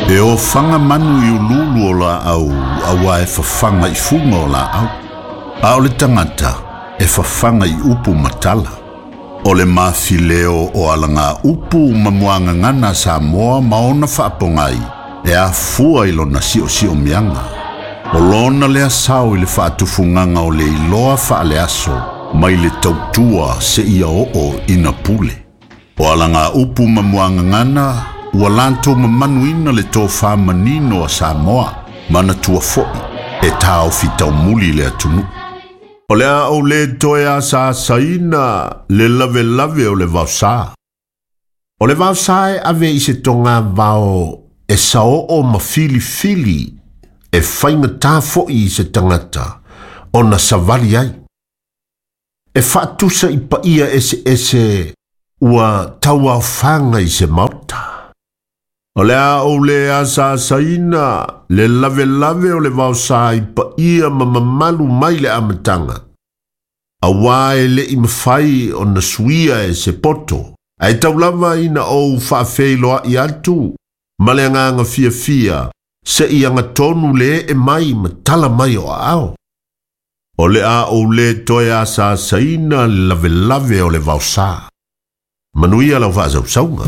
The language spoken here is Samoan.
E ofaga manu i uluulu o laau auā e fafaga i fuga o laau. A o le tagata e fafaga i upu ma tala. O le mafileo o alaga upu ma muagagana a Samoa ma ona faapogai e afua i lona siosiomiaga. O lona lea sao i le faatufugaga o le iloa faaleaso mai le tautua seia oo ina pule. O alaga upu ma muagagana ua latou mamanuina le tofa manino a Samoa, manatua foi e taofi taumuli le atunuu. O le a ou lē toe asaasaina le lavelave o le vaosā. O le vaosā e ave i se togavao e saoo ma filifili e faigata foi i se tagata ona savali ai. E faatusa i paia eseese ua tauaofaga i se maota. O le a ou lē asaasaina le lavelave o le vaosā i paia ma mamalu mai le amataga. Auā e le'i mafai ona suia e se poto, ae tau lava ina ou faafeiloa'i atu ma le agaga fiafia se'i agatonu le ee mai ma tala mai o aao. O le a ou lē toe asaasaina le lavelave o le vaosā. Manuia lau faasausauga.